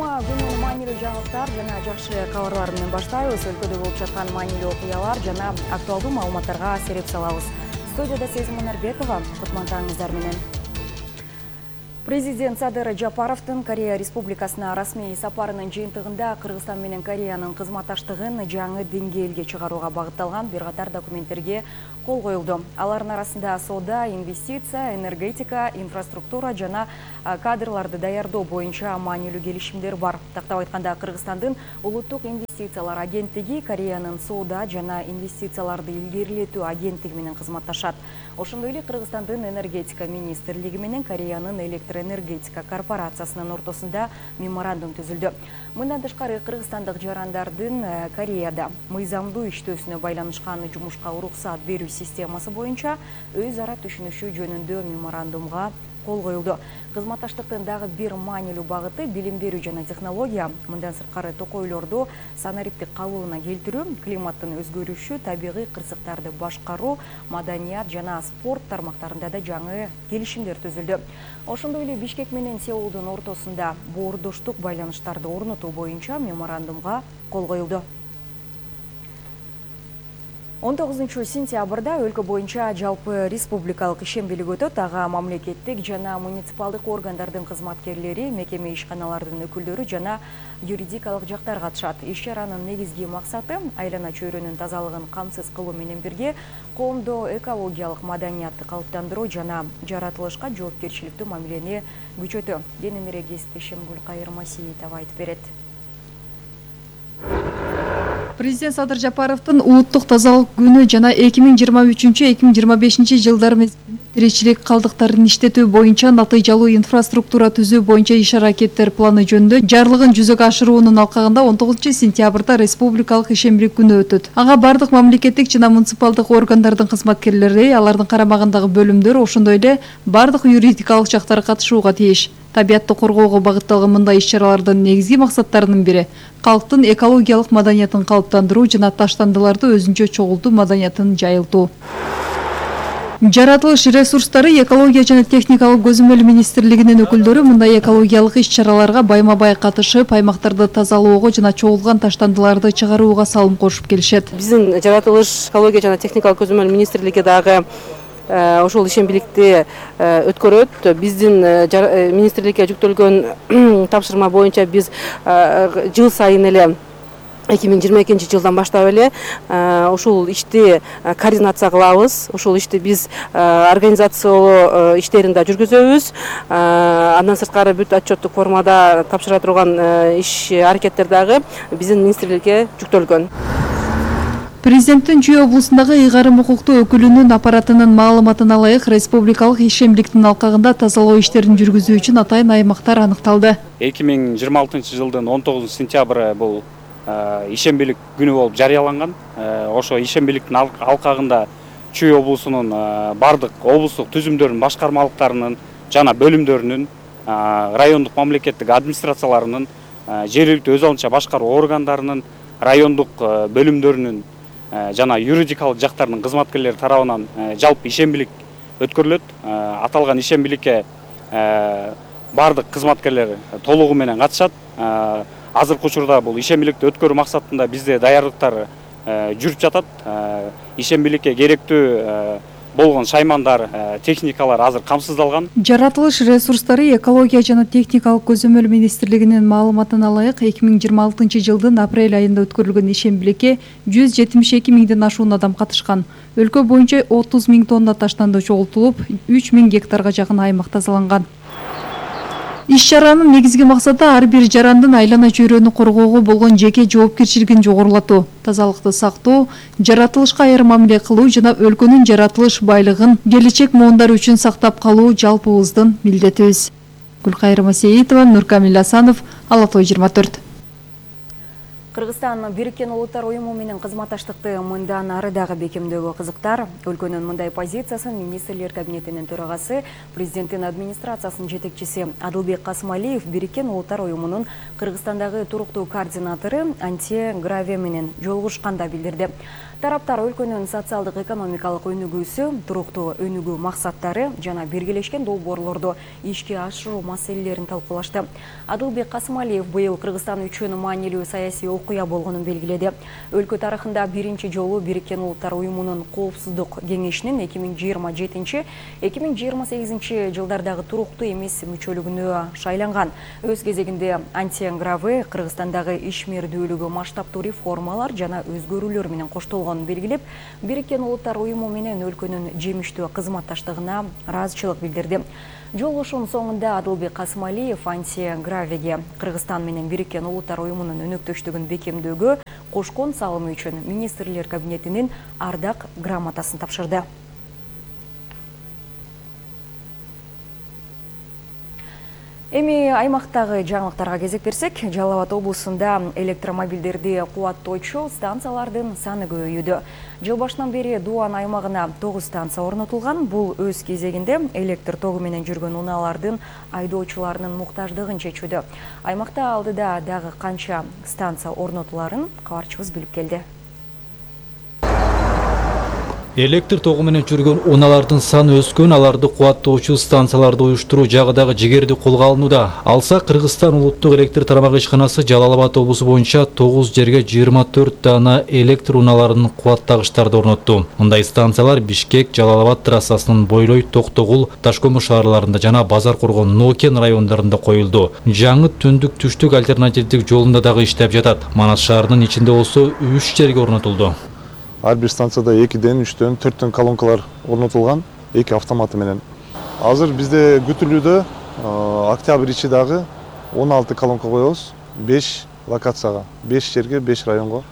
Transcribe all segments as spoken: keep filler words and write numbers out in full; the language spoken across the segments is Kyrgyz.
Жума күнү маанилүү жаңылыктар жана жакшы кабарлар менен баштайбыз. Өлкөдө болуп жаткан маанилүү окуялар жана актуалдуу маалыматтарга сереп салабыз. Студияда Сезим Манарбекова, кутмандаңыздар менен. Президент Садыр Жапаровдун Корея Республикасына расмий сапарынын жыйынтыгында Кыргызстан менен Кореянын кызматташтыгын жаңы деңгээлге чыгарууга багытталган бир катар документтерге кол коюлду. Алардын арасында соода, инвестиция, энергетика, инфраструктура жана кадрларды даярдоо боюнча маанилүү келишимдер бар. Тактап айтканда, Кыргызстандын улуттук инвестициялар агенттиги Кореянын соода жана инвестицияларды илгерилетүү агенттиги менен кызматташат. Ошондой эле Кыргызстандын энергетика министрлиги менен Кореянын электроэнергетика корпорациясынын ортосунда меморандум түзүлдү. Мындан тышкары кыргызстандык жарандардын Кореяда мыйзамдуу иштөөсүнө байланышкан жумушка уруксат берүү системасы боюнча өз ара түшүнүшүү жөнүндө меморандумга кол коюлду. Кызматташтыктын дагы бир маанилүү багыты билим берүү жана технология. Мындан сырткары токойлорду санариптик калыбына келтирүү, климаттын өзгөрүшү, табигый кырсыктарды башкаруу, маданият жана спорт тармактарында да жаңы келишимдер түзүлдү. Ошондой эле Бишкек менен Сеулдун ортосунда боордоштук байланыштарды орнотуу боюнча меморандумга кол коюлду. он тогузунчу сентябрда өлкө боюнча жалпы республикалык ишембилик өтөт. Ага мамлекеттик жана муниципалдык органдардын кызматкерлери, мекеме ишканалардын өкүлдөрү жана юридикалык жактар катышат. Иш-чаранын негизги максаты айлана чөйрөнүн тазалыгын камсыз кылуу менен бирге коомдо экологиялык маданиятты калыптандыруу жана жаратылышка жоопкерчиликтүү мамилени күчөтүү. Кененирээк Эстишим Гүлкайыр Масиитова айтып берет. Президент Садыр Жапаровдун улуттук тазалык күнү жана эки миң жыйырма үчүнчү — эки миң жыйырма бешинчи жылдар мезгилинде тиричилик калдыктарын иштетүү боюнча натыйжалуу инфраструктура түзүү боюнча иш-аракеттер планы жөнүндө жарлыгын жүзөгө ашыруунун алкагында он тогузунчу сентябрда республикалык ишембилик күнү өтөт. Ага бардык мамлекеттик жана муниципалдык органдардын кызматкерлери, алардын карамагындагы бөлүмдөр, ошондой эле бардык юридикалык жактар катышууга тийиш. Табиатты коргоого багытталган мындай иш-чаралардын негизги максаттарынын бири калктын экологиялык маданиятын калыптандыруу жана таштандыларды өзүнчө чогултуу маданиятын жайылтуу. Жаратылыш ресурстары, экология жана техникалык көзөмөл министрлигинин өкүлдөрү мындай экологиялык иш-чараларга байма-бай катышып, аймактарды тазалоого жана чогулган таштандыларды чыгарууга салым кошуп келишет. Биздин жаратылыш, экология жана техникалык көзөмөл министрлиги дагы ошол ишембиликти өткөрөт. Биздин министрликке жүктөлгөн тапшырма боюнча биз жыл сайын эле эки миң жыйырма экинчи жылдан баштап эле ушул ишти координация кылабыз. Ушул ишти биз организациялоо иштерин да жүргүзөбүз. Андан сырткары бүт отчеттук формада тапшыра турган иш аракеттер дагы биздин министрликке жүктөлгөн. Президенттин Чүй облусундагы ыйгарым укуктуу өкүлүнүн аппаратынын маалыматына ылайык решспубликалык ишембиликтин алкагында тазалоо иштерин жүргүзүү үчүн атайын аймактар аныкталды. эки миң жыйырма алтынчы жылдын он тогузунчу сентябры бул ишембилик күнү болуп жарыяланган. Ошо ишембиликтин алкагында Чүй облусунун бардык облустук түзүмдөрүнүн башкармалыктарынын жана бөлүмдөрүнүн, райондук мамлекеттик администрацияларынын, жергиликтүү өз алынча башкаруу органдарынын, райондук бөлүмдөрүнүн жана юридикалык жактардын кызматкерлери тарабынан жалпы ишембилик өткөрүлөт. Аталган ишембиликке бардык кызматкерлер толугу менен катышат. Азыркы учурда бул ишембиликти өткөрүү максатында бизде даярдыктар жүрүп жатат. Ишембиликке керектүү болгон шаймандар, техникалар азыр камсыздалган. Жаратылыш ресурстары, экология жана техникалык көзөмөл министрлигинин маалыматына ылайык эки миң жыйырма алтынчы жылдын апрель айында өткөрүлгөн ишембиликке жүз жетимиш эки миңден ашуун адам катышкан. Өлкө боюнча отуз миң тонна таштанды чогултулуп, үч миң гектарга жакын аймак тазаланган. Иш-чаранын негизги максаты ар бир жарандын айлана чөйрөнү коргоого болгон жеке жоопкерчилигин жогорулатуу, тазалыкты сактоо, жаратылышка айыр мамиле кылуу жана өлкөнүн жаратылыш байлыгын келечек муундар үчүн сактап калуу жалпыбыздын милдетибиз. Гүлкайыр Масиитова, Нуркамил Асанов, Ала Той жыйырма төрт. Кыргызстан Бириккен Улуттар уюму менен кызматташтыкты мындан ары дагы бекемдөөгө кызыктар. Өлкөнүн мындай позициясын министрлер кабинетинин төрагасы, президенттин администрациясынын жетекчиси Адылбек Касымалиев Бириккен Улуттар уюмунун Кыргызстандагы туруктуу координатору Антия Граве менен жолугушканда билдирди. Тараптар өлкөнүн социалдык экономикалык өнүгүүсү, туруктуу өнүгүү максаттары жана биргелешкен долбоорлорду ишке ашыруу маселелерин талкуулашты. Адылбек Касымалиев быйыл Кыргызстан үчүн маанилүү саясий окуя болгонун белгиледи. Өлкө тарыхында биринчи жолу Бириккен Улуттар уюмунун коопсуздук кеңешинин эки миң жыйырма жетинчи — эки миң жыйырма сегизинчи жылдардагы туруктуу эмес мүчөлүгүнө шайланган. Өз кезегинде Антиен Граве Кыргызстандагы ишмердүүлүгү масштабтуу реформалар жана өзгөрүүлөр менен коштолгонун белгилеп, Бириккен Улуттар уюму менен өлкөнүн жемиштүү кызматташтыгына ыраазычылык билдирди. Жолугушуунун соңунда Адылбек Касымалиев Антиен Гравеге Кыргызстан менен Бириккен Улуттар уюмунун өнөктөштүгүн бекемдөөгө кошкон салымы үчүн министрлер кабинетинин ардак грамотасын тапшырды. Эми аймактагы жаңылыктарга кезек берсек, Жалал Абад облусунда электромобилдерди кубаттоочу станциялардын саны көбөйүүдө. Жыл башынан бери Дуан аймагына тогуз станция орнотулган. Бул өз кезегинде электр тогу менен жүргөн унаалардын айдоочуларынын муктаждыгын чечүүдө. Аймакта алдыда дагы канча станция орнотуларын кабарчыбыз билип келди. Электр тогу менен жүргөн унаалардын саны өскөн, аларды кубаттоочу станцияларды уюштуруу жагы дагы жигерди колго алынууда. Алса, Кыргызстан улуттук электр тарамак ишканасы Жалал Абад облусу боюнча тогуз жерге жыйырма төрт дана электр унааларын кубаттагычтарды орнотту. Мындай станциялар Бишкек, Жалал Абад трассасынын бойлой Токтогул, Ташкөмүр шаарларында жана Базар Коргон, Нокен райондорунда коюлду. Жаңы түндүк түштүк альтернативдик жолунда дагы иштеп жатат. Манас шаарынын ичинде болсо үч жерге орнотулду. Ар бир станцияда экиден, үчтөн, төрттөн колонкалар орнотулган, эки автоматы менен. Азыр бизде күтүлүүдө октябрь ичи дагы он алты колонка коебуз, беш локацияга, беш жерге, беш районго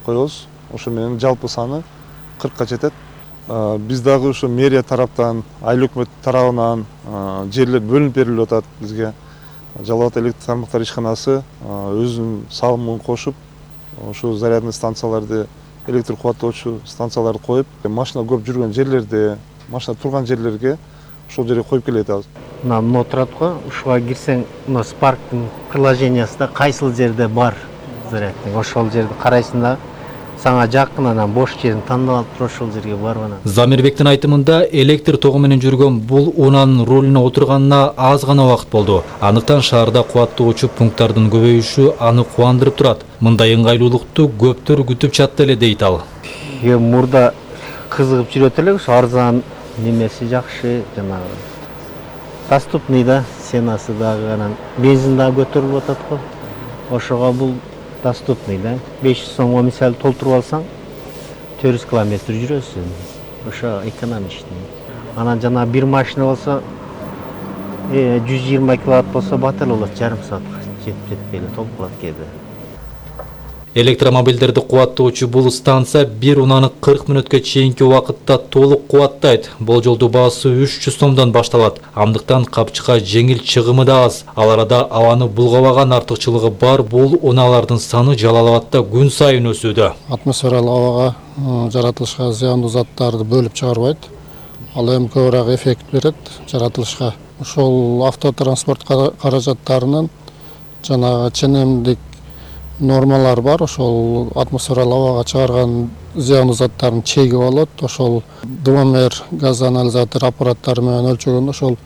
коебуз. Ошо менен жалпы саны кыркка жетет. Биз дагы ошо мэрия тараптан, айыл өкмөт тарабынан жерлер бөлүнүп берилип атат бизге. Жалал Абад электр тармактар ишканасы өзүнүн салымын кошуп, ошо зарядный станцияларды, электр кубаттоочу станцияларды коюп, машина көп жүргөн жерлерде, машина турган жерлерге ошол жерге коюп келе жатабыз. Мына мына турат го, ушуга кирсең, мына Spark'тын приложениясында кайсыл жерде бар зарядный, ошол жерди карайсың да, сага жакын анан бош жерин тандап алып туруп ошол жерге барып анан. Замирбектин айтымында, электр тогу менен жүргөн бул унаанын рулуна отурганына аз гана убакыт болду. Андыктан шаарда кубаттоочу пункттардын көбөйүшү аны кубандырып турат. Мындай ыңгайлуулукту көптөр күтүп жатты эле дейт ал. Эми мурда кызыгып жүрөт элек, ошо арзан немеси жакшы, жанагы доступный да, ценасы дагы анан бензин дагы көтөрүлүп атат го. Ошого бул доступный да. беш жүз сомго мисалы толтуруп алсаң, төрт жүз километр жүрөсүң. Ошо экономичный. Анан жана бир машина болсо, жүз жыйырма киловатт болсо батыр болот, жарым саатка жетип жетпей эле толуп калат кээде. Электромобилдерди кубаттоочу бул станция бир унаны кырк мүнөткө чейинки убакытта толук кубаттайт. Болжолдуу баасы үч жүз сомдон башталат. Андыктан капчыкка жеңил чыгымы да аз. Ал арада абаны булгабаган артыкчылыгы бар бул унаалардын саны Жалал Абадта күн сайын өсүүдө. Атмосфералык абага жаратылышка зыяндуу заттарды бөлүп чыгарбайт. Ал эми көбүрөөк эффект берет жаратылышка. Ошол автотранспорт каражаттарынын жана ченемдик нормалар бар, ошол атмосфералык абага чыгарган зыяндуу заттардын чеги болот. Ошол дымомер, газ анализатор аппараттары менен өлчөгөндө ошол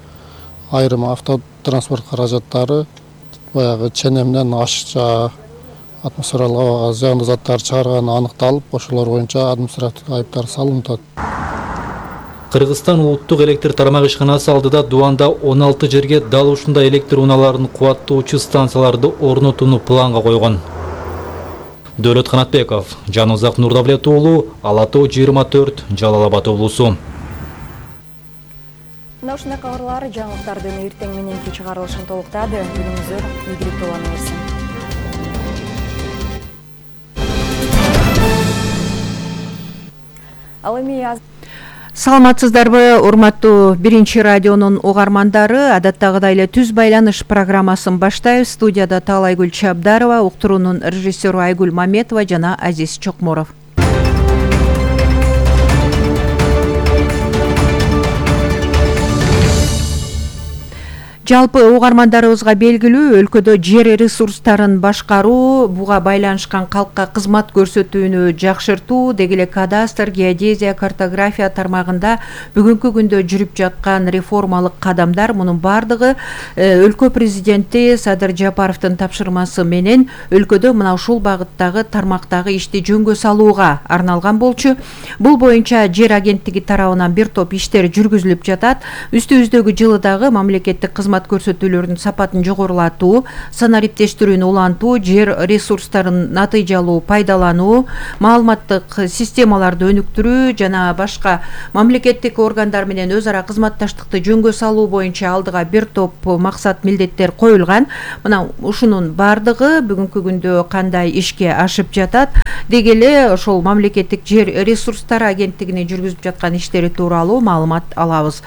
айрым автотранспорт каражаттары баягы ченемден ашыкча атмосфералык абага зыяндуу заттар чыгарганы аныкталып, ошолор боюнча административдик айыптар салынып атат. Кыргызстан улуттук электр тарамак ишканасы алдыда Дуанда он алты жерге дал ушундай электр унааларын кубаттоочу станцияларды орнотууну планга койгон. Дөөлөт Канатбеков, Жанузак Нурдавлет уулу, Ала тоо жыйырма төрт, Жалал Абад облусу. Мына ушундай кабарлар жаңылыктардын эртең мененки чыгарылышын толуктады. Күнүңүздөр ийгиликтүү боло берсин. Ал эми Саламатсыздарбы, урматтуу биринчи радионун угармандары, адаттагыдай эле түз байланыш программасын баштайбыз. Студияда Таалайгүл Чабдарова, уктуруунун режиссеру Айгүл Маметова жана Азиз Чокморов. Жалпы угармандарыбызга белгилүү, өлкөдө жер ресурстарын башкаруу, буга байланышкан калкка кызмат көрсөтүүнү жакшыртуу, деги эле кадастр, геодезия, картография тармагында бүгүнкү күндө жүрүп жаткан реформалык кадамдар, мунун бардыгы өлкө президенти Садыр Жапаровдун тапшырмасы менен өлкөдө мына ушул багыттагы тармактагы ишти жөнгө салууга арналган болчу. Бул боюнча жер агенттиги тарабынан бир топ иштер жүргүзүлүп жатат. Үстүбүздөгү жылы дагы мамлекеттик кызмат көрсөтүүлөрдүн сапатын жогорулатуу, санариптештирүүнү улантуу, жер ресурстарын натыйжалуу пайдалануу, маалыматтык системаларды өнүктүрүү жана башка мамлекеттик органдар менен өз ара кызматташтыкты жөнгө салуу боюнча алдыга бир топ максат милдеттер коюлган. Мына ушунун бардыгы бүгүнкү күндө кандай ишке ашып жатат, деги эле ошол мамлекеттик жер ресурстары агенттигинин жүргүзүп жаткан иштери тууралуу маалымат алабыз.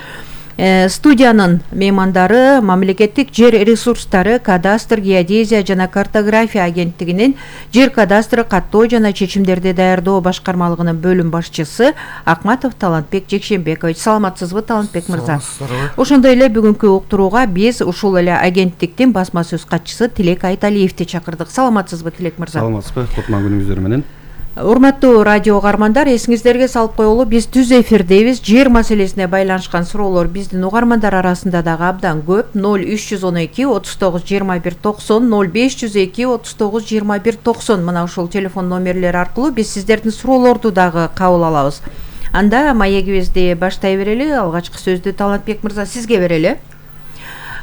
Студиянын меймандары мамлекеттик жер ресурстары, кадастр, геодезия жана картография агенттигинин жер кадастры, каттоо жана чечимдерди даярдоо башкармалыгынын бөлүм башчысы Акматов Талантбек Жекшенбекович. Саламатсызбы, Талантбек мырза? Ошондой эле бүгүнкү уктурууга биз ушул эле агенттиктин басма сөз катчысы Тилек Айталиевди чакырдык. Саламатсызбы, Тилек мырза? Саламатсызбы, кутман күнүңүздөр менен. Урматтуу радио угармандар, эсиңиздерге салып коелу, биз түз эфирдебиз. Жер маселесине байланышкан суроолор биздин угармандар арасында дагы абдан көп. ноль үч жүз он эки отуз тогуз жыйырма бир токсон, ноль беш жүз эки отуз тогуз жыйырма бир токсон мына ушул телефон номерлери аркылуу биз сиздердин суроолорду дагы кабыл алабыз. Анда маегибизди баштай берели. Алгачкы сөздү Талантбек мырза сизге берели.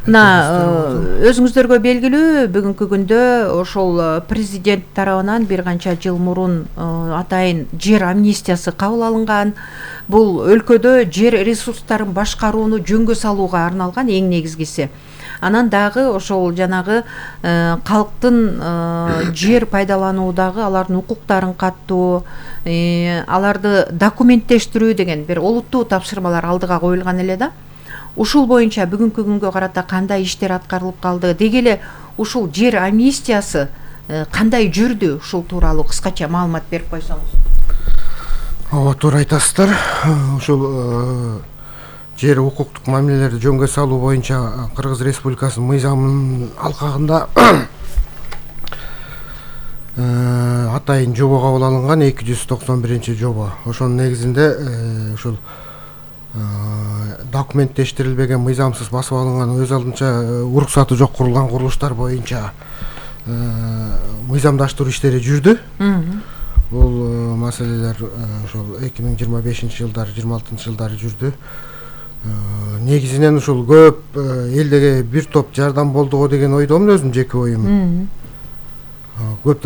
Мына өзүңүздөргө белгилүү, бүгүнкү күндө ошол президент тарабынан бир канча жыл мурун атайын жер амнистиясы кабыл алынган. Бул өлкөдө жер ресурстарын башкарууну жөнгө салууга арналган эң негизгиси. Анан дагы ошол жанагы калктын жер пайдалануудагы алардын укуктарын каттоо, аларды документтештирүү деген бир олуттуу тапшырмалар алдыга коюлган эле да. Ушул боюнча бүгүнкү күнгө карата кандай иштер аткарылып калды? Деги эле ушул жер амнистиясы кандай жүрдү? Ушул тууралуу кыскача маалымат берип койсоңуз. Ооба, туура айтасыздар. Ушул жер укуктук мамилелерди жөнгө салуу боюнча Кыргыз Республикасынын мыйзамынын алкагында атайын жобо кабыл алынган, эки жүз токсон биринчи жобо. Ошонун негизинде ушул документтештирилбеген, мыйзамсыз басып алынган, өз алдынча уруксаты жок курулган курулуштар боюнча мыйзамдаштыруу иштери жүрдү. Бул маселелер ошол эки миң жыйырма бешинчи жылдары, жыйырма алтынчы жылдары жүрдү. Негизинен ушул көп элдеге бир топ жардам болду деген ойдомун, өзүм жеке оюм. Көп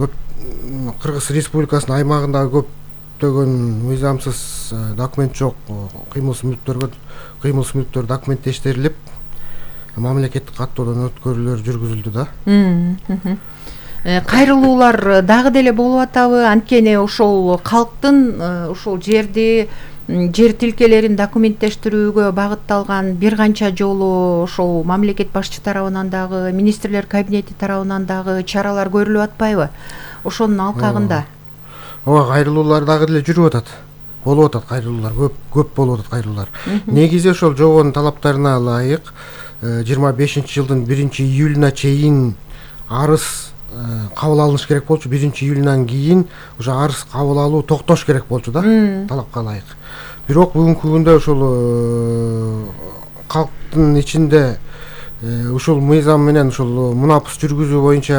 көп Кыргыз Республикасынын аймагында көп мыйзамсыз документ жок кыймылсыз мүлктөргө кыймылсыз мүлктөр документтештирилип мамлекеттик каттоодон өткөрүүлөр жүргүзүлдү да. Кайрылуулар дагы деле болуп атабы? Анткени ошол калктын ушул жерди, жер тилкелерин документтештирүүгө багытталган бир канча жолу ошол мамлекет башчы тарабынан дагы, министрлер кабинети тарабынан дагы чаралар көрүлүп атпайбы? Ошонун алкагында Ооба, кайрылуулар дагы деле жүрүп атат. Болуп атат кайрылуулар, көп көп болуп атат кайрылуулар. Негизи ошол жобонун талаптарына ылайык жыйырма бешинчи жылдын биринчи июлуна чейин арыз кабыл алыныш керек болчу. биринчи июлунан кийин уже арыз кабыл алуу токтош керек болчу да, талапка ылайык. Бирок бүгүнкү күндө ошол калктын ичинде ушул мыйзам менен ушул мунапыс жүргүзүү боюнча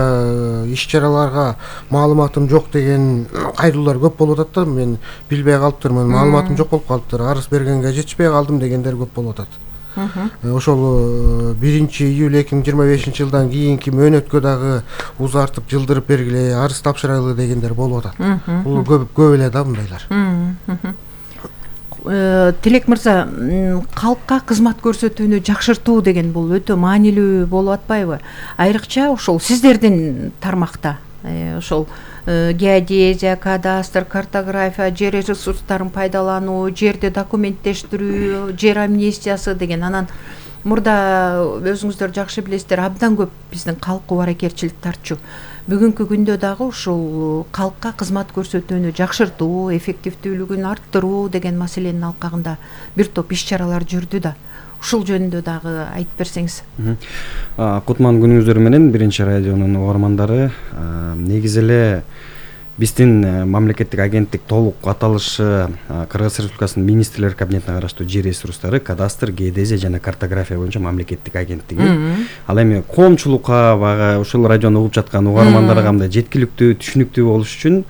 иш-чараларга маалыматым жок деген кайрылуулар көп болуп атат да. Мен билбей калыптырмын, маалыматым жок болуп калыптыр, арыз бергенге жетишпей калдым дегендер көп болуп атат. Ошол биринчи июль эки миң жыйырма бешинчи жылдан кийинки мөөнөткө дагы узартып, жылдырып бергиле, арыз тапшырайлы дегендер болуп атат. Бул көп көп эле да мындайлар. Тилек мырза, калкка кызмат көрсөтүүнү жакшыртуу деген бул өтө маанилүү болуп атпайбы? Айрыкча ошол сиздердин тармакта ошол геодезия, кадастр, картография, жер ресурстарын пайдалануу, жерди документтештирүү, жер амнистиясы деген, анан мурда өзүңүздөр жакшы билесиздер, абдан көп биздин калк убаракерчилик тарчу. Бүгүнкү күндө дагы ушул калкка кызмат көрсөтүүнү жакшыртуу, эффективдүүлүгүн арттыруу деген маселенин алкагында бир топ иш-чаралар жүрдү да. ушул жөнүндө дагы айтып берсеңиз. Кутман күнүңүздөр менен биринчи радионун угармандары. Негизи эле биздин мамлекеттик агенттик толук аталышы Кыргыз Республикасынын министрлер кабинетине караштуу жер ресурстары, кадастр, геодезия жана картография боюнча мамлекеттик агенттиги. Ал эми коомчулукка бага ушул радиону угуп жаткан угармандарга мындай жеткиликтүү, түшүнүктүү болуш үчүн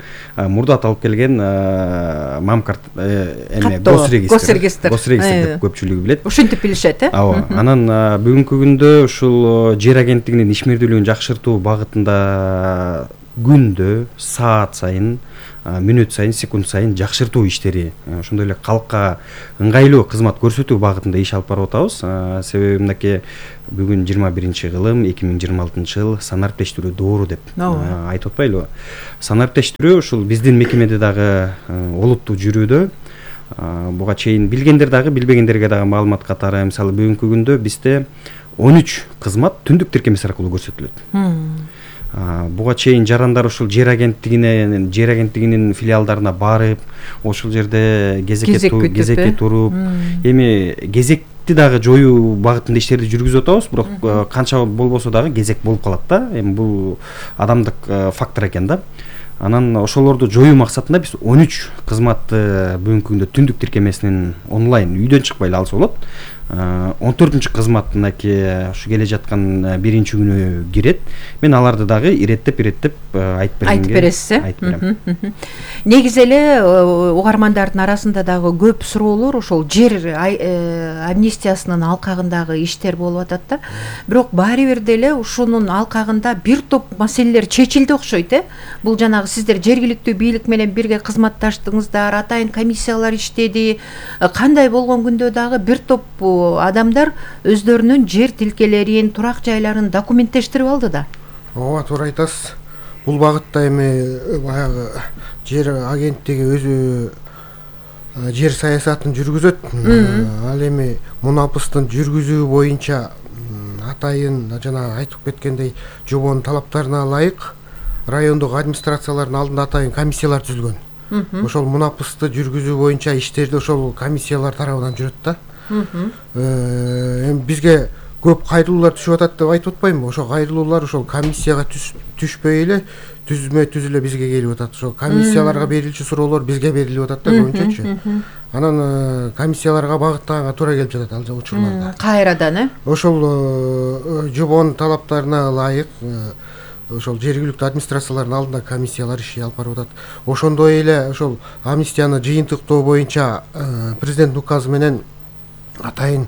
мурдат алып келген мамкарт эме госрегистр госрегистр деп көпчүлүгү билет. Ушинтип билишет, э? Ооба. Анан бүгүнкү күндө ушул жер агенттигинин ишмердүүлүгүн жакшыртуу багытында күндө, саат сайын, мүнөт сайын, секунд сайын жакшыртуу иштери, ошондой эле калкка ыңгайлуу кызмат көрсөтүү багытында иш алып барып атабыз. Себеби мынакей бүгүн жыйырма биринчи кылым эки миң жыйырма алтынчы жыл санариптештирүү доору деп айтып атпайлыбы? Санариптештирүү ушул биздин мекемеде дагы олуттуу жүрүүдө. Буга чейин билгендер дагы, билбегендерге дагы маалымат катары, мисалы бүгүнкү күндө бизде он үч кызмат түндүк тиркемеси аркылуу көрсөтүлөт. Буга чейин жарандар ушул жер агенттигине, жер агенттигинин филиалдарына барып, ошол жерде кезекке туруп, эми кезекти дагы жоюу багытында иштерди жүргүзүп атабыз, бирок канча болбосо дагы кезек болуп калат да. Эми бул адамдык фактор экен да. Анан ошолорду жоюу максатында биз он үч кызматты бүгүнкү күндө түндүк тиркемесинен онлайн үйдөн чыкпай эле алса болот. он төртүнчү кызмат мынакей ушу келе жаткан биринчи күнү кирет. Мен аларды дагы иреттеп иреттеп айтып бергенге айтып бересиз, э? Айтып берем. Негизи эле угармандардын арасында дагы көп суроолор ошол жер амнистиясынын алкагындагы иштер болуп атат да. Бирок баары бир деле ушунун алкагында бир топ маселелер чечилди окшойт, э? Бул жанагы сиздер жергиликтүү бийлик менен бирге кызматташтыңыздар, атайын комиссиялар иштеди. Кандай болгон күндө дагы бир топ адамдар өздөрүнүн жер тилкелерин, турак жайларын документтештирип алды да. Ооба, туура айтасыз. Бул багытта эми баягы жер агенттиги өзү жер саясатын жүргүзөт. Ал эми мунапыстын жүргүзүү боюнча атайын жана айтып кеткендей жобонун талаптарына ылайык райондук администрациялардын алдында атайын комиссиялар түзүлгөн. Ошол мунапысты жүргүзүү боюнча иштерди ошол комиссиялар тарабынан жүрөт да. Эми бизге көп кайрылуулар түшүп атат деп айтып атпаймынбы? Ошол кайрылуулар ошол комиссияга түшпөй эле түзмө түзүлө бизге келип атат. Ошол комиссияларга берилчү суроолор бизге берилип атат да көбүнчөчү. Анан комиссияларга багыттаганга туура келип жатат ал учурларда. Кайрадан, э? Ошол жобонун талаптарына ылайык ошол жергиликтүү администрациялардын алдында комиссиялар иш алып барып атат. Ошондой эле ошол амнистияны жыйынтыктоо боюнча президент указы менен атайын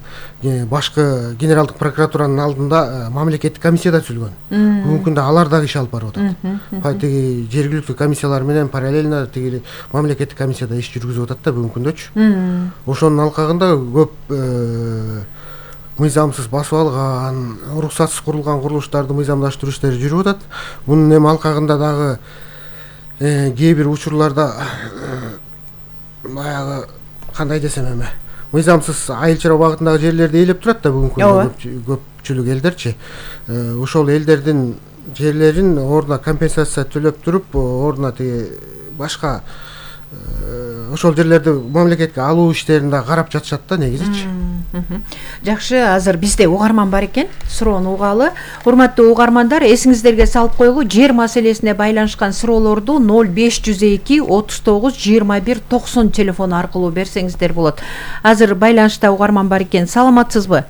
башкы генералдык прокуратуранын алдында мамлекеттик комиссия да түзүлгөн. Бүгүнкү күндө алар дагы иш алып барып атат. Тиги жергиликтүү комиссиялар менен параллельно тиги мамлекеттик комиссия да иш жүргүзүп атат да бүгүнкү күндөчү. Ошонун алкагында көп мыйзамсыз басып алган, уруксатсыз курулган курулуштарды мыйзамдаштыруу иштери жүрүп атат. Мунун эми алкагында дагы кээ бир учурларда баягы кандай десем эми мыйзамсыз айыл чарба багытындагы жерлерди ээлеп турат да бүгүнкү күндө көпчүлүк элдерчи. Ошол элдердин жерлерин ордуна компенсация төлөп туруп, ордуна тиги башка ошол жерлерди мамлекетке алуу иштерин да карап жатышат да негизичи. Жакшы, азыр бизде угарман бар экен, суроону угалы. Урматтуу угармандар, эсиңиздерге салып коелу, жер маселесине байланышкан суроолорду ноль беш жүз эки отуз тогуз жыйырма бир токсон телефону аркылуу берсеңиздер болот. Азыр байланышта угарман бар экен. Саламатсызбы?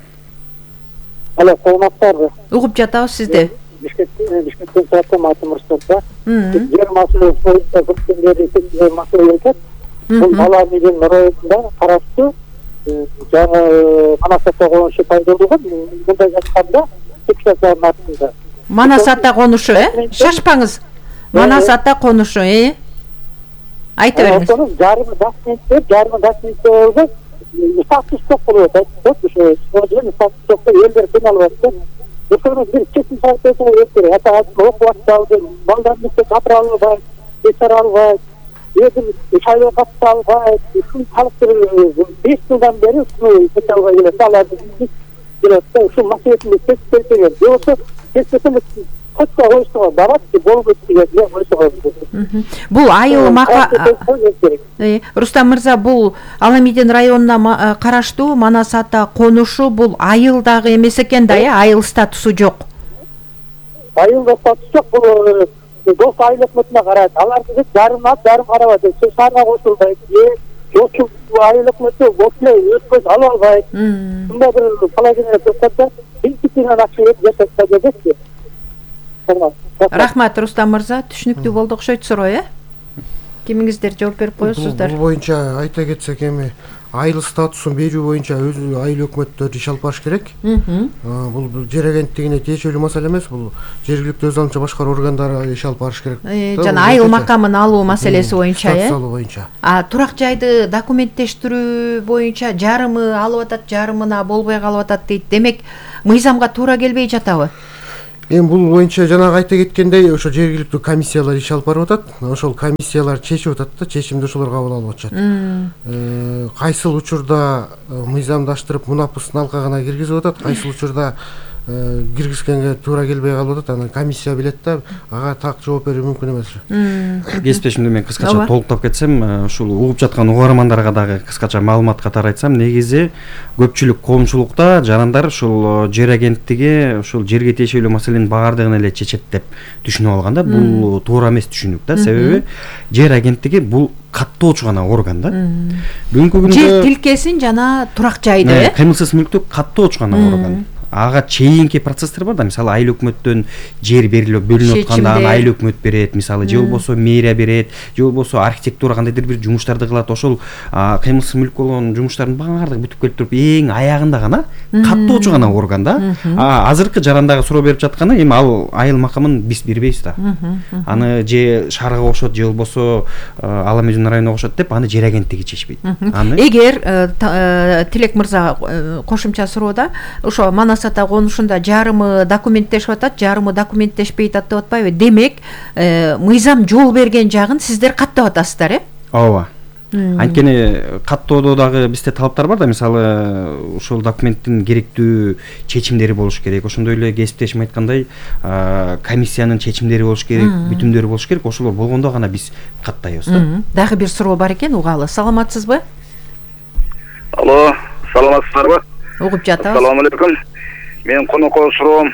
Алло, саламатсызбы? Угуп жатабыз сизди. Бишкектен чыгаттым, атым Рустам. Жер маселеси боюнча көптөндөрү көптөгөн маселе айтат. Бул Бала Медин районунда караштуу жаңы Манас ата конушу пайда болгон. Мындай жатканда депутаттардын артында. Манас ата конушу, э? Шашпаңыз. Манас ата конушу, э? Айта бериңиз. Ошонун жарымы документтер, жарымы документтер болуп, статус жок болуп атат. Ошо сожжен статус жок, элдер кыйналып атат. Ошону бир чечим чыгарып берсе керек. Ата окуп атпады, балдар мектеп капыра албайт, бечара албайт. Эдим шайлоо катыша албайт. Ушул халыктыр беш жылдан бери ушул социалга келет. Аларды келет да ушул маселесин чечип берсе керек. Жоксо чечпесем көчкө коюштуга барат болуп өттү деп койсо. Бул айыл мака Рустам мырза, бул Аламидин районуна караштуу Манас ата конушу бул айылдагы эмес экен да, э, айыл статусу жок. Айылда статус жок, бул дос айыл өкмөтүнө карайт. Алар биз жарымына жарым карабайт. Су шаарга кошулбайт. Жокчу айыл өкмөтү бошлой өткөз ала албайт. Мындай бир положение турса, институттан акча берип жашашса дебекчи. Рахмат Рустам мырза, түшүнүктүү болду окшойт суроо, э? Кимиңиздер жооп берип коесуздар? Бул боюнча айта кетсек эми айыл статусун берүү боюнча өзү айыл өкмөттөр иш алып барыш керек. Бул жер агенттигине тиешелүү маселе эмес, бул жергиликтүү өз алдынча башкаруу органдары иш алып барыш керек. Жана айыл макамын алуу маселеси боюнча, э? Статус алуу боюнча. А турак жайды документтештирүү боюнча жарымы алып атат, жарымына болбой калып атат дейт. Демек, мыйзамга туура келбей жатабы? Эми бул боюнча жанагы айта кеткендей, ошо жергиликтүү комиссиялар иш алып барып атат. Ошол комиссиялар чечип атат да, чечимди ошолор кабыл алып атышат. Кайсыл учурда мыйзамдаштырып мунапыстын алкагына киргизип атат, кайсыл учурда киргизгенге туура келбей калып атат. Анан комиссия билет да, ага так жооп берүү мүмкүн эмес. Кесиптешимди мен кыскача толуктап кетсем, ушул угуп жаткан угармандарга дагы кыскача маалымат катары айтсам, негизи көпчүлүк коомчулукта жарандар ушул жер агенттиги ушул жерге тиешелүү маселенин баардыгын эле чечет деп түшүнүп алган да. Бул туура эмес түшүнүк да. Себеби жер агенттиги бул каттоочу гана орган да. Бүгүнкү күндө жер тилкесин жана турак жайды, э? Кыймылсыз мүлктү каттоочу гана орган. Ага чейинки процесстер бар да, мисалы айыл өкмөттөн жер берилип бөлүнүп атканда аны айыл өкмөт берет, мисалы же болбосо мэрия берет, же болбосо архитектура кандайдыр бир жумуштарды кылат. Ошол кыймылсыз мүлк болгон жумуштардын баардыгы бүтүп келип туруп эң аягында гана каттоочу гана орган да. Азыркы жарандагы суроо берип жатканы эми ал айыл макамын биз бербейбиз да. Аны же шаарга кошот, же болбосо Аламидин районуна кошот деп аны жер агенттиги чечпейт. Эгер Тилек мырза кошумча суроода ошо Манас ата конушунда жарымы документтешип атат, жарымы документтешпейт деп атпайбы? Демек, мыйзам жол берген жагын сиздер каттап атасыздар, э? Ооба. Анткени каттоодо дагы бизде талаптар бар да, мисалы ушул документтин керектүү чечимдери болуш керек. Ошондой эле кесиптешим айткандай, комиссиянын чечимдери болуш керек, бүтүмдөрү болуш керек. Ошолор болгондо гана биз каттайбыз да. Дагы бир суроо бар экен, угалы. Саламатсызбы? Алло, саламатсыздарбы? Угуп жатабыз. Ассаламу алейкум. Мен конокой суроом.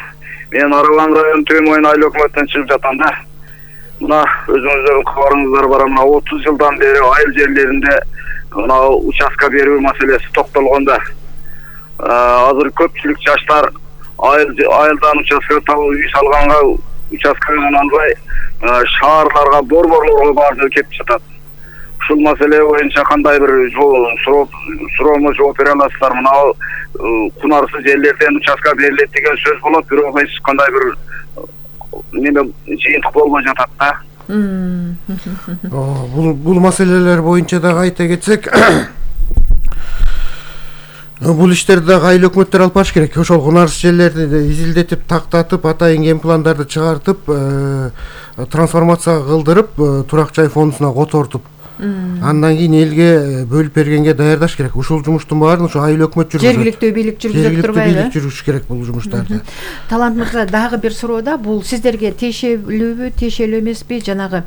Мен Аралан району Төмөйн айыл өкмөтүнөн чыгып жатам да. Мына өзүңүздөрдүн кабарыңыздар бар, мына отуз жылдан бери айыл жерлеринде мына участка берүү маселеси токтолгондо. Азыр көпчүлүк жаштар айыл айылдан участка табып үй салганга участканы албай шаарларга борборлорго барып кетип жатат. Ушул маселе боюнча кандай бир суроомо жооп бере аласыздар? Мына кунарсыз жерлерден участка берилет деген сөз болот, бирок эч кандай бир неме жыйынтык болбой жатат да. Бул бул маселелер боюнча дагы айта кетсек, бул иштерди дагы айыл өкмөттөр алып барыш керек. Ошол кунарсыз жерлерди изилдетип, тактатып, атайын ген пландарды чыгартып, трансформация кылдырып, турак жай фондуна котортуп, андан кийин элге бөлүп бергенге даярдаш керек. Ушул жумуштун баарын ошо айыл өкмөт жүргүзөт. Жергиликтүү бийлик жүргүзөт турбайбы? Жергиликтүү бийлик жүргүзүш керек бул жумуштарды. Талант мырза, дагы бир суроода, бул сиздерге тиешелүүбү, тиешелүү эмеспи? Жанагы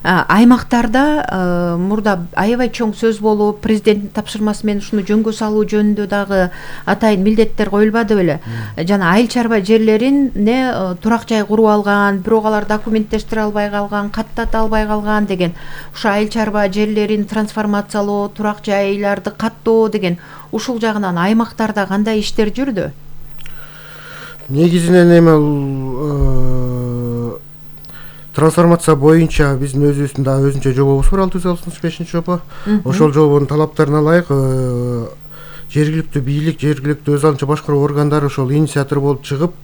аймактарда мурда аябай чоң сөз болуп, президенттин тапшырмасы менен ушуну жөнгө салуу жөнүндө дагы атайын милдеттер коюлбады беле? Жана айыл чарба жерлерине турак жай куруп алган, бирок алар документтештире албай калган, каттата албай калган деген, ушул айыл чарба жерлерин трансформациялоо, турак жайларды каттоо деген, ушул жагынан аймактарда кандай иштер жүрдү? Негизинен эми трансформация боюнча биздин өзүбүздүн да өзүнчө жобобуз бар, алты жүз алтымыш бешинчи жобо. Ошол жобонун талаптарына ылайык жергиликтүү бийлик, жергиликтүү өз алдынча башкаруу органдары ошол инициатор болуп чыгып,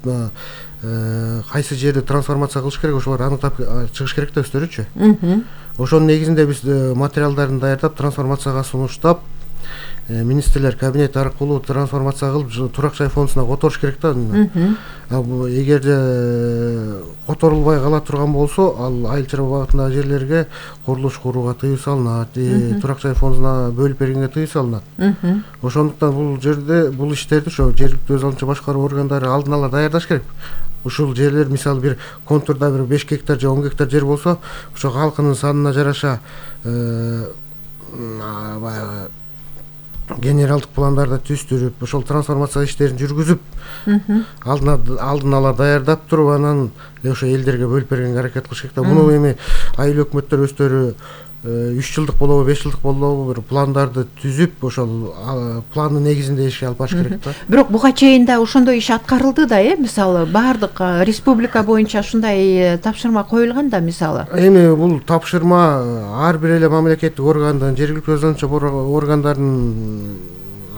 кайсы жерди трансформация кылыш керек, ошолорду аныктап чыгыш керек да өздөрүчү. Ошонун негизинде биз материалдарын даярдап, трансформацияга сунуштап, министрлер кабинети аркылуу трансформация кылып, турак жай фондуна которуш керек да. Эгерде которулбай кала турган болсо, ал айыл чарба багытындагы жерлерге курулуш курууга тыюу салынат, турак жай фондуна бөлүп бергенге тыюу салынат. Ошондуктан бул жерде бул иштерди ошо жергиликтүү өз алдынча башкаруу органдары алдын ала даярдаш керек. ушул жерлер мисалы бир контурда бир беш гектар же он гектар жер болсо ошо калкынын санына жараша баягы генералдык пландарды түзүп ошол трансформация иштерин жүргүзүп алдын ала даярдап туруп анан ошо элдерге бөлүп бергенге аракет кылыш керек да. Муну эми айыл өкмөттөр өздөрү үч жылдык болобу беш жылдык болобу бир пландарды түзүп ошол пландын негизинде ишке алып барыш керек да. Бирок буга чейин да ошондой иш аткарылды да, э мисалы баардык республика боюнча ушундай тапшырма коюлган да мисалы. Эми бул тапшырма ар бир эле мамлекеттик органдын, жергиликтүү өзүнчө органдардын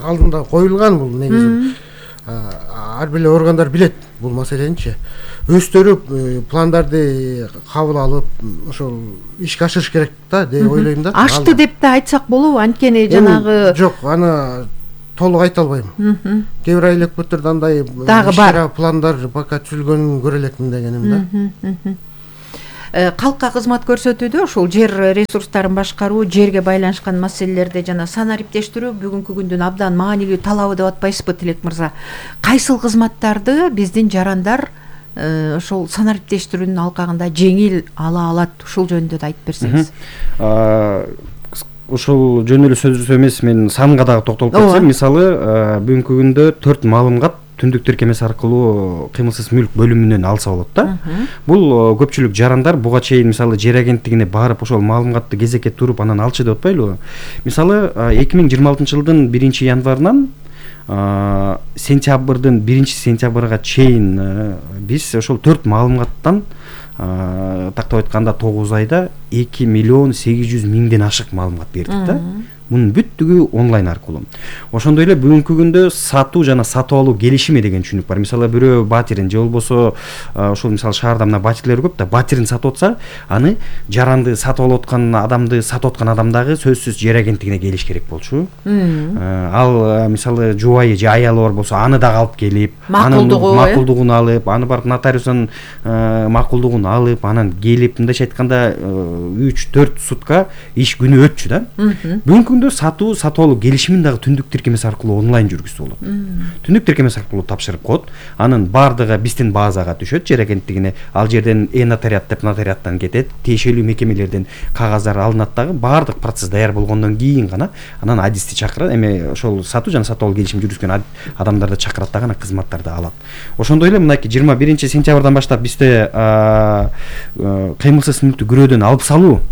алдында коюлган бул негизи. Ар бир эле органдар билет бул маселеничи. Өздөрү пландарды кабыл алып ошол ишке ашырыш керек да деп ойлойм да. Ашты деп да айтсак болобу, анткени жанагы жок, аны толук айта албайм. Кээ бир айыл өкмөттөрдө андай дагы бар пландар пока түзүлгөнүн көрө элекмин дегеним да. Калкка кызмат көрсөтүүдө ушул жер ресурстарын башкаруу, жерге байланышкан маселелерде жана санариптештирүү бүгүнкү күндүн абдан маанилүү талабы деп атпайсызбы, Тилек мырза? Кайсыл кызматтарды биздин жарандар ошол санариптештирүүнүн алкагында жеңил ала алат? Ушул жөнүндө да айтып берсеңиз. Ушул жөн эле сөзсүз эмес, мен санга дагы токтолуп кетсем, мисалы бүгүнкү күндө төрт маалымат түндүк тиркемеси аркылуу кыймылсыз мүлк бөлүмүнөн алса болот да. Бул көпчүлүк жарандар буга чейин мисалы жер агенттигине барып ошол маалыматты кезекке туруп анан алчу деп атпайлыбы? Мисалы эки миң жыйырма алтынчы жылдын биринчи январынан сентябрдын биринчи сентябрга чейин биз ошол төрт маалыматтан тактап айтканда тогуз айда эки миллион сегиз жүз миңден ашык маалымат бердик да. Мунун бүттүгү онлайн аркылуу. Ошондой эле бүгүнкү күндө сатуу жана сатып алуу келишими деген түшүнүк бар. Мисалы бирөө батирин же болбосо ошол мисалы шаарда мына батирлер көп да, батирин сатып атса, аны жаранды сатып алып аткан адамды сатып аткан адам дагы сөзсүз жер агенттигине келиш керек болчу. Ал мисалы жубайы же аялы бар болсо, аны дагы алып келип, анын макулдугун алып, аны барып нотариустан макулдугун алып, анан келип, мындайча айтканда үч төрт сутка иш күнү өтчү да. Бүгүнкү сатуу сатып алуу келишимин дагы түндүк тиркемеси аркылуу онлайн жүргүзсө болот. Түндүк тиркемеси аркылуу тапшырып коет. Анын баардыгы биздин базага түшөт, жер агенттигине. Ал жерден э-нотариат деп нотариаттан кетет, тиешелүү мекемелерден кагаздар алынат дагы. Баардык процесс даяр болгондон кийин гана анан адисти чакырат. Эми ошол сатуу жана сатып алуу келишим жүргүзгөн адамдарды чакырат дагы, анан кызматтарды алат. Ошондой эле мынакей жыйырма биринчи сентябрдан баштап бизде кыймылсыз мүлктү күрөөдөн алып салуу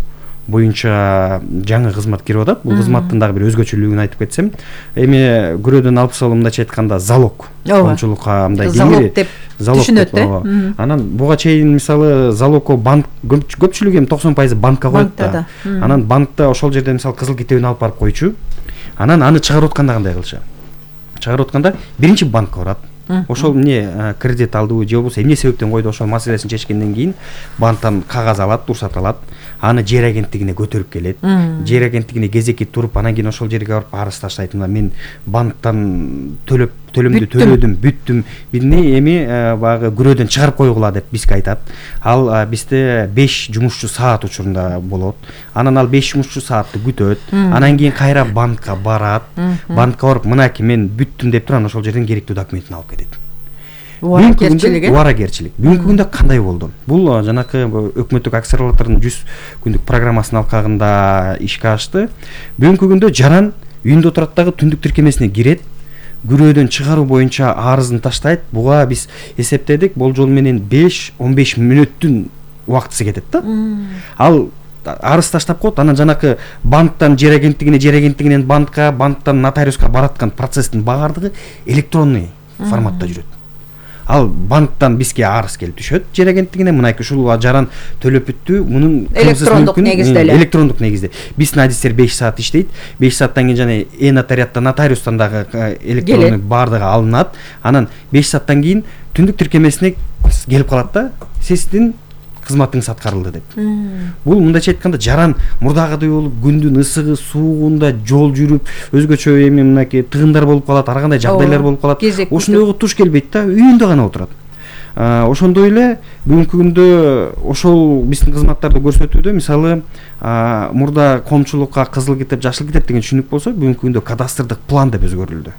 боюнча жаңы кызмат кирип атат. Бул кызматтын дагы бир өзгөчөлүгүн айтып кетсем, эми күрөөдөн алып салуу мындайча айтканда залог, коомчулукка мындай залог деп түшүнөт да. Анан буга чейин мисалы залогко банк көпчүлүгү эми токсон пайызы банкка коет да. Анан банкта ошол жерде мисалы кызыл китебин алып барып койчу. Анан аны чыгарып атканда кандай кылчу? Чыгарып атканда биринчи банкка барат. Ошол эмне кредит алдыбы же болбосо эмне себептен койду, ошол маселесин чечкенден кийин банктан кагаз алат, уруксат алат. Аны жер агенттигине көтөрүп келет. Жер агенттигине кезекке туруп, анан кийин ошол жерге барып арыз таштайт. Мына мен банктан төлөп төлөмдү төлөдүм, бүттүм. Бизни эми баягы күрөөдөн чыгарып койгула деп бизге айтат. Ал бизде беш жумушчу саат учурунда болот. Анан ал беш жумушчу саатты күтөт. Анан кийин кайра банкка барат. Банкка барып, мынакей мен бүттүм деп туруп, анан ошол жерден керектүү документин алып кетет. Убаракерчилик. Убаракерчилик. Бүгүнкү күндө кандай болду? Бул жанакы өкмөттүк акциялардын жүз күндүк программасынын алкагында ишке ашты. Бүгүнкү күндө жаран үйүндө отурат дагы түндүк тиркемесине кирет, күрөөдөн чыгаруу боюнча арызын таштайт. Буга биз эсептедик, болжол менен беш он беш мүнөттүн убактысы кетет да. Ал арыз таштап коет, анан жанакы банктан жер агенттигине, жер агенттигинен банкка, банктан нотариуска бараткан процесстин баардыгы электронный форматта жүрөт. Ал банктан бизге арыз келип түшөт, жер агенттигине, мынайкы ушул жаран төлөп бүттү, мунун электрондук негизде эле. Электрондук негизде. Биздин адистер беш саат иштейт. беш сааттан кийин жана э-нотариаттан, нотариустан дагы электрондук баардыгы алынат. Анан беш сааттан кийин түндүк тиркемесине келип калат да, сиздин кызматыңыз аткарылды деп. Бул мындайча айтканда жаран мурдагыдай болуп күндүн ысыгы, суугунда жол жүрүп, өзгөчө эми мынакей тыгындар болуп калат, ар кандай жагдайлар болуп калат. Ошондойго туш келбейт да, үйүндө гана отурат. Ошондой эле бүгүнкү күндө ошол биздин кызматтарды көрсөтүүдө мисалы мурда коомчулукка кызыл китеп, жашыл китеп деген түшүнүк болсо, бүгүнкү күндө кадастрдык план деп өзгөрүлдү.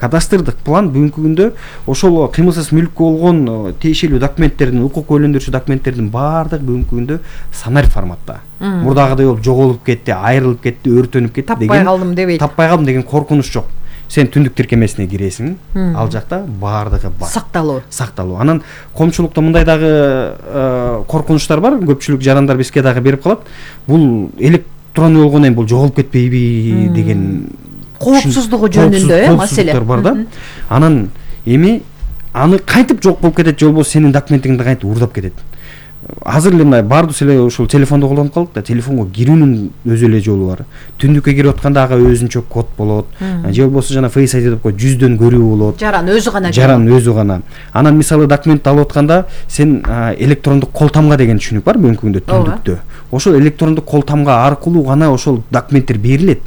кадастрдык план бүгүнкү күндө ошол кыймылсыз мүлккө болгон тиешелүү документтердин, укук өйлөндүрүүчү документтердин баардыгы бүгүнкү күндө сонарь форматта. Мурдагыдай болуп жоголуп кетти, айрылып кетти, өртөнүп кетти деген таппай калдым дебейт. Таппай калдым деген коркунуч жок. Сен түндүк тиркемесине киресиң, ал жакта баардыгы бар. Сакталуу. Сакталуу. Анан коомчулукта мындай дагы коркунучтар бар. Көпчүлүк жарандар бизге дагы берип калат. Бул электронный болгондон кийин бул жоголуп кетпейби деген коопсуздугу жөнүндө э маселе бар да. Анан эми аны кантип жок болуп кетет же болбосо сенин документиңди кантип уурдап кетет. Азыр эле мына баардыгыбыз эле ушул телефонду колдонуп калдык да, телефонго кирүүнүн өзү эле жолу бар. Түндүккө кирип атканда ага өзүнчө код болот. Же болбосо жана Face ай ди деп коет, жүздөн көрүү болот. Жаран өзү гана. Жаран өзү гана. Анан мисалы документти алып атканда сен электрондук кол тамга деген түшүнүк бар бүгүнкү күндө түндүктө. Ошол электрондук кол тамга аркылуу гана ошол документтер берилет.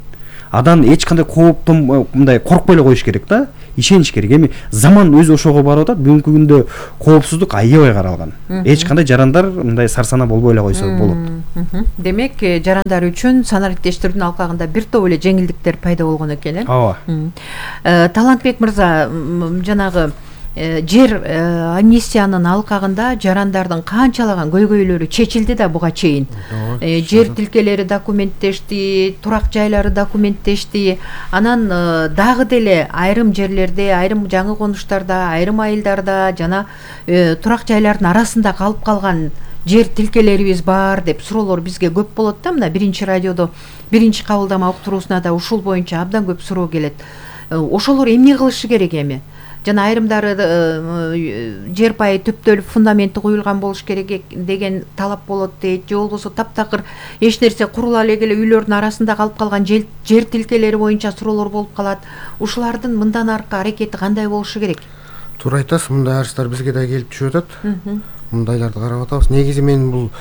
Адан эч кандай кооптон мындай коркпой эле коюш керек да, ишениш керек. Эми заман өзү ошого барып атат. Бүгүнкү күндө коопсуздук аябай каралган. Эч кандай жарандар мындай сарсана болбой эле койсо болот. Демек, жарандар үчүн санариптештирүүнүн алкагында бир топ эле жеңилдиктер пайда болгон экен, э? Ооба. Талантбек мырза, жанагы жер амнистиянын алкагында жарандардын канчалаган көйгөйлөрү чечилди да буга чейин. Жер тилкелери документтешти, турак жайлары документтешти. Анан дагы деле айрым жерлерде, айрым жаңы конуштарда, айрым айылдарда жана турак жайлардын арасында калып калган жер тилкелерибиз бар деп суроолор бизге көп болот да. Мына биринчи радиодо биринчи кабылдама уктуруусуна да ушул боюнча абдан көп суроо келет. Ошолор эмне кылышы керек эми? Жана айрымдары жер пайы түптөлүп фундаменти куюлган болуш керек деген талап болот дейт. Же болбосо таптакыр эч нерсе курула эле үйлөрдүн арасында калып калган жер тилкелери боюнча суроолор болуп калат. Ушулардын мындан аркы аракети кандай болушу керек? Туура айтасыз, мындай арыздар бизге да келип түшүп атат. Мындайларды карап атабыз. Негизи мен бул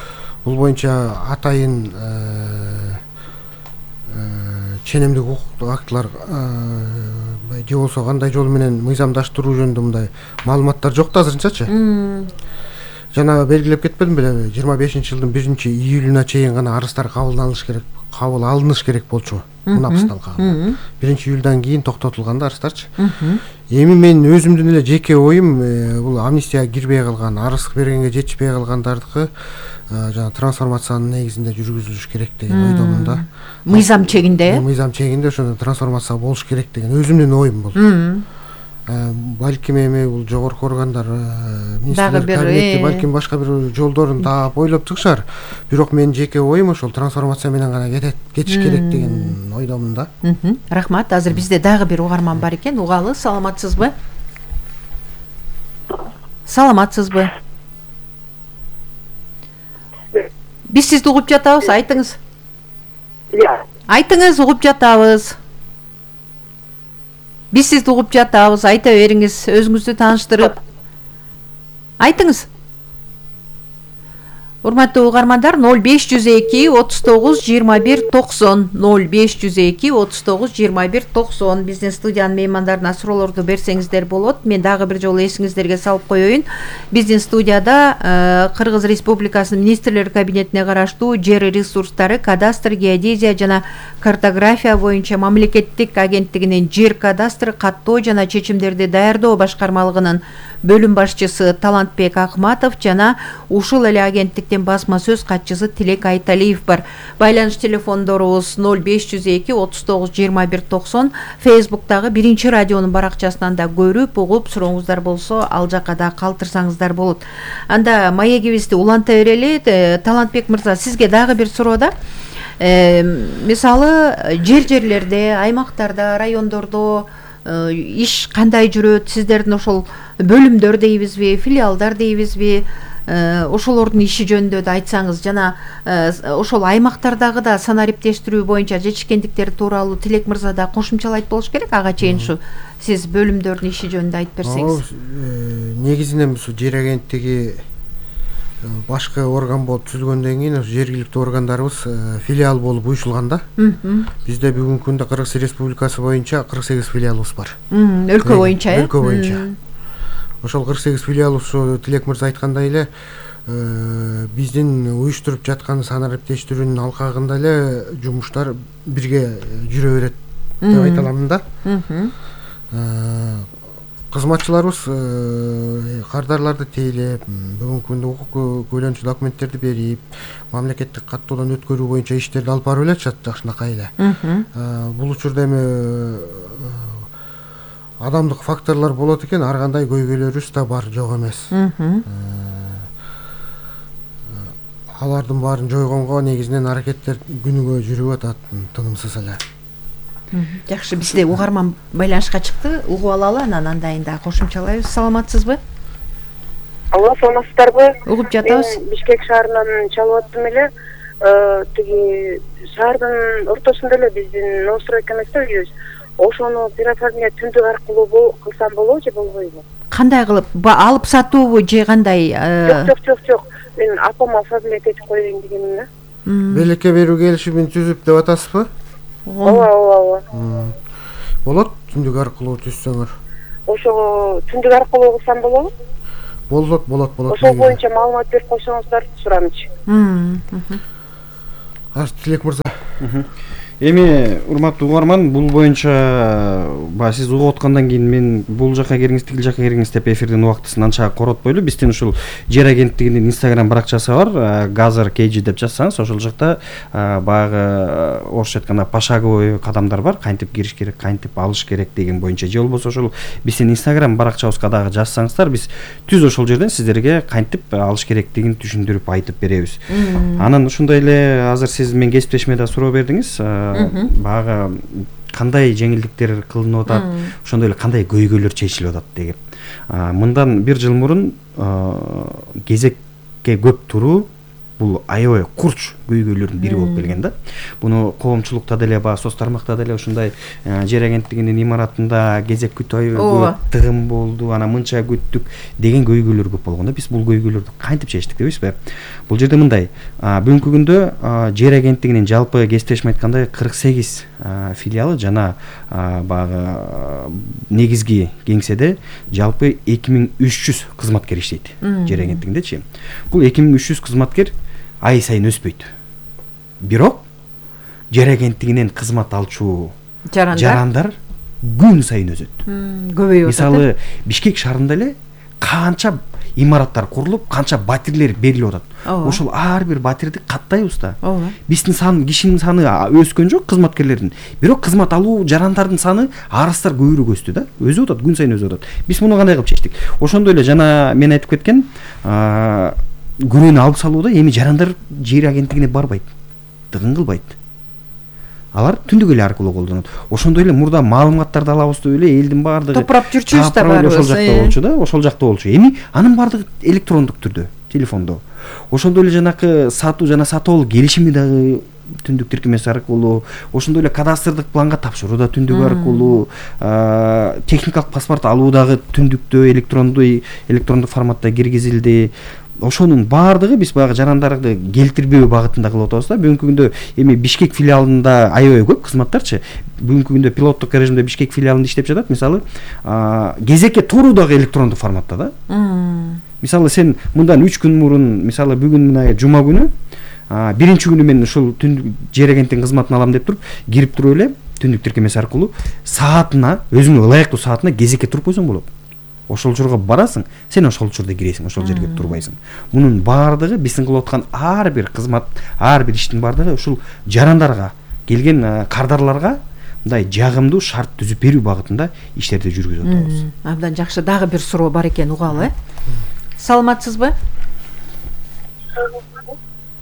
бул боюнча атайын ченемдик укуктук актылар же болбосо кандай жол менен мыйзамдаштыруу жөнүндө мындай маалыматтар жок да азырынчачы. Жана белгилеп кетпедим беле, жыйырма бешинчи жылдын биринчи июлуна чейин гана арыздар кабылданыш керек, кабыл алыныш керек болчу мунапстын алкагында. биринчи июлдан кийин токтотулган да арыздарчы. Эми мен өзүмдүн эле жеке оюм, бул амнистияга кирбей калган, арыз бергенге жетишпей калгандардыкы жана трансформациянын негизинде жүргүзүлүш керек деген ойдомун да. Мыйзам чегинде? Мыйзам чегинде ошондой трансформация болуш керек деген өзүмдүн оюм бул. Балким эми бул жогорку органдар, министрлер кабинети, балким башка бир жолдорун таап ойлоп чыгышар. Бирок менин жеке оюм ошол трансформация менен гана кетет, кетиш керек деген ойдомун да. Рахмат. Азыр бизде дагы бир угарман бар экен. Угалы, саламатсызбы? Саламатсызбы? Биз сизди угуп жатабыз, айтыңыз. Айтыңыз, угуп жатабыз. Биз сизди угуп жатабыз, айта бериңиз, өзүңүздү тааныштырып. Айтыңыз. Урматтуу угармандар, ноль беш жүз эки отуз тогуз жыйырма бир токсон, ноль беш жүз эки отуз тогуз жыйырма бир токсон биздин студиянын меймандарына суроолорду берсеңиздер болот. Мен дагы бир жолу эсиңиздерге салып коеюн. Биздин студияда Кыргыз Республикасынын министрлер кабинетине караштуу жер ресурстары, кадастр, геодезия жана картография боюнча мамлекеттик агенттигинин жер кадастры, каттоо жана чечимдерди даярдоо башкармалыгынын бөлүм башчысы Талантбек Акматов жана ушул эле агенттиктин басма сөз катчысы Тилек Айталиев бар. Байланыш телефондорубуз ноль беш жүз эки отуз тогуз жыйырма бир токсон. Фейсбуктагы биринчи радионун баракчасынан да көрүп, угуп, сурооңуздар болсо ал жакка да калтырсаңыздар болот. Анда маегибизди уланта берели. Талантбек мырза, сизге дагы бир суроо да. Мисалы, жер жерлерде, аймактарда, райондордо иш кандай жүрөт? Сиздердин ошол бөлүмдөр дейбизби, филиалдар дейбизби? Ошолордун иши жөнүндө да айтсаңыз, жана ошол аймактардагы да санариптештирүү боюнча жетишкендиктер тууралуу Тилек мырза да кошумчалайт болуш керек. Ага чейин ушу сиз бөлүмдөрдүн иши жөнүндө айтып берсеңиз. Негизинен ушу жер агенттиги башкы орган болуп түзүлгөндөн кийин жергиликтүү органдарыбыз филиал болуп уюшулган да. Бизде бүгүнкү күндө Кыргыз Республикасы боюнча кырк сегиз филиалыбыз бар. Өлкө боюнча, э? Өлкө боюнча. Ошол кырк сегиз филиал ушу Тилек мырза айткандай эле биздин уюштуруп жаткан санариптештирүүнүн алкагында эле жумуштар бирге жүрө берет деп айта аламын да. кызматчыларыбыз кардарларды тейлеп, бүгүнкү күндө укук көйлөнчү документтерди берип, мамлекеттик каттоодон өткөрүү боюнча иштерди алып барып эле жакшынакай эле. Бул учурда эми адамдык факторлор болот экен, ар кандай көйгөйлөрүбүз да бар, жок эмес. Алардын баарын жойгонго негизинен аракеттер күнүгө жүрүп атат, тынымсыз эле. Жакшы, бизде угарман байланышка чыкты, угуп алалы, анан андайын да кошумчалайбыз. Саламатсызбы? Алла, саламатсыздарбы? Угуп жатабыз. Мен Бишкек шаарынан чалып аттым эле. Тиги шаардын ортосунда эле биздин новостройка эмес да үйүбүз. Ошону пироформия түндүк аркылуу кылсам болобу же болбойбу? Кандай кылып, алып сатуубу же кандай? Жок, жок, жок, жок. Мен апама оформлять этип коеюн дегенмин да. Белекке берүү келишимин түзүп деп атасызбы? Ооба, ооба, ооба. Болот, түндүк аркылуу түзсөңөр. Ошого түндүк аркылуу кылсам болобу? Болот, болот, болот. Ошол боюнча маалымат берип койсоңуздар сурамчы. Аз Тилек мырза. Эми урматтуу угарман, бул боюнча баягы сиз угуп аткандан кийин мен бул жака кириңиз, тигил жака кириңиз деп эфирдин убактысын анча коротпойлу. Биздин ушул жер агенттигинин Instagram баракчасы бар, Газар Кейджи деп жазсаңыз, ошол жакта баягы орусча айтканда пошаговый кадамдар бар, кантип кириш керек, кантип алыш керек деген боюнча. Же болбосо ошол биздин Instagram баракчабызга дагы жазсаңыздар, биз түз ошол жерден сиздерге кантип алыш керектигин түшүндүрүп айтып беребиз. Анан ушундай эле азыр сиз мен кесиптешиме да суроо бердиңиз. Баягы кандай жеңилдиктер кылынып атат, ошондой эле кандай көйгөйлөр чечилип атат деген. Мындан бир жыл мурун кезекке көп туруу бул аябай курч көйгөйлөрдүн бири болуп келген да. Буну коомчулукта деле, баягы соц тармакта деле ушундай жер агенттигинин имаратында кезек күтүү көп тыгын болду, анан мынча күттүк деген көйгөйлөр көп болгон да. Биз бул көйгөйлөрдү кантип чечтик дейбизби? Бул жерде мындай, бүгүнкү күндө жер агенттигинин жалпы кесиптешим айткандай кырк сегиз филиалы жана баягы негизги кеңседе жалпы эки миң үч жүз кызматкер иштейт жер агенттигиндечи. Бул эки миң үч жүз кызматкер ай сайын өспөйт. Бирок жер агенттигинен кызмат алчу жарандар күн сайын өсөт. Көбөйүп атат. Мисалы, Бишкек шаарында эле канча имараттар курулуп, канча батирлер берилип атат. Ошол ар бир батирди каттайбыз да. Биздин сан, кишинин саны өскөн жок, кызматкерлердин. Бирок кызмат алуу жарандардын саны арастар көбүрөөк өстү да. Өсүп атат, күн сайын өсүп атат. Биз муну кандай кылып чечтик? Ошондой эле жана мен айтып кеткен, күнөөнү алып салууда эми жарандар жер агенттигине барбайт, тыгын кылбайт. Алар түндүк эле аркылуу колдонот. Ошондой эле мурда маалыматтарды алабыз деп эле элдин баардыгы топурап жүрчүбүз да баарыбыз. Ошол жакта болчу да, ошол жакта болчу. Эми анын баардыгы электрондук түрдө, телефондо. Ошондой эле жанакы сатуу жана сатып алуу келишими дагы түндүк тиркемеси аркылуу, ошондой эле кадастрдык планга тапшыруу да түндүк аркылуу, техникалык паспорт алуу дагы түндүктө электрондуу электрондук форматта киргизилди. Ошонун баардыгы биз баягы жарандарды келтирбөө багытында кылып атабыз да. Бүгүнкү күндө эми Бишкек филиалында аябай көп кызматтарчы. Бүгүнкү күндө пилоттук режимде Бишкек филиалында иштеп жатат. Мисалы, кезекке туруу дагы электрондук форматта да. Мисалы, сен мындан үч күн мурун, мисалы бүгүн мына жума күнү, биринчи күнү мен ушул түндүк жер агенттигинин кызматын алам деп туруп, кирип туруп эле түндүк тиркемеси аркылуу саатына, өзүңө ылайыктуу саатына кезекке туруп койсоң болот. Ошол учурга барасың, сен ошол учурда киресиң, ошол жерге турбайсың. Мунун баардыгы биздин кылып аткан ар бир кызмат, ар бир иштин баардыгы ушул жарандарга, келген кардарларга мындай жагымдуу шарт түзүп берүү багытында иштерди жүргүзүп атабыз. Абдан жакшы, дагы бир суроо бар экен, угалы. Саламатсызбы?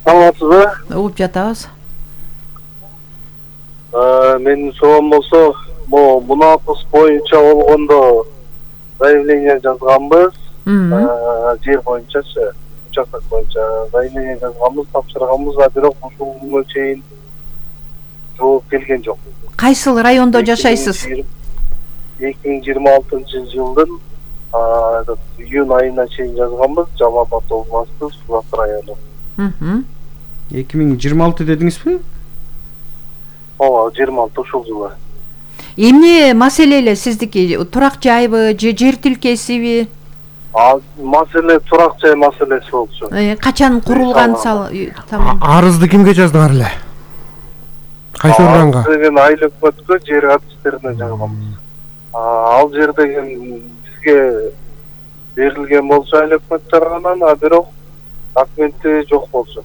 Саламатсызбы? Угуп жатабыз. Менин суроом болсо, могу мунапыс боюнча болгондо заявление жазганбыз, жер боюнчачы, участок боюнча заявление жазганбыз, тапшырганбыз, а бирок ушул күнгө чейин жооп келген жок. Кайсыл райондо жашайсыз? эки миң жыйырма алтынчы жылдын июнь айына чейин жазганбыз, Жалал Абад областы, Сулат району. эки миң жыйырма алты дедиңизби? Ооба, жыйырма алты ушул жылы. Эмне маселе эле сиздики? Турак жайбы же жер тилкесиби? А маселе турак жай маселеси болчу. Качан курулган тамам? Арызды кимге жаздыңар эле? Кайсы органга? Мен айыл өкмөткө жер катыштерине жазганбыз. ал жер деген бизге берилген болчу айыл өкмөт тарабынан, а бирок документи жок болчу.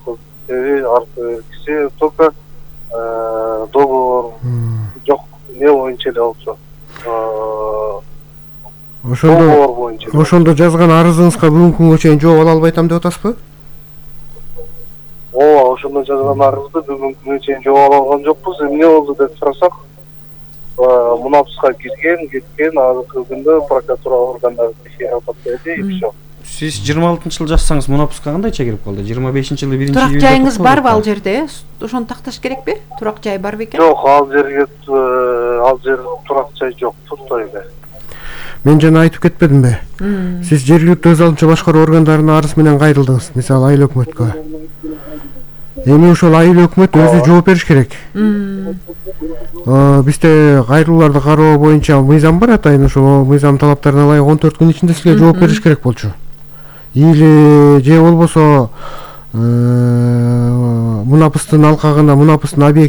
Кисе только договор жок не боюнча эле болчу. Ошондо ошондо жазган арызыңызга бүгүнкү күнгө чейин жооп ала албай атам деп атасызбы? Ооба, ошондо жазган арызды бүгүнкү күнгө чейин жооп ала алган жокпуз. Эмне болду деп сурасак, мунапуска кирген, кеткен, азыркы күндө прокуратура органдары текшерип атат и всё. Сиз жыйырма алтынчы жылы жазсаңыз мунапуска кандайча кирип калды? жыйырма бешинчи жылы биринчи турак жайыңыз барбы ал жерде? Ошону такташ керекпи? Турак жай бар бекен? Жок, ал жерге ал жерде турак жай жок, пустой эле. Мен жана айтып кетпедимби? Сиз жергиликтүү өз алдынча башкаруу органдарына арыз менен кайрылдыңыз, мисалы айыл өкмөткө. Эми ошол айыл өкмөт өзү жооп бериш керек. Бизде кайрылууларды кароо боюнча мыйзам бар атайын, ошо мыйзам талаптарына ылайык он төрт күн ичинде сизге жооп бериш керек болчу. Или же болбосо мунапустун алкагына, мунапустун объект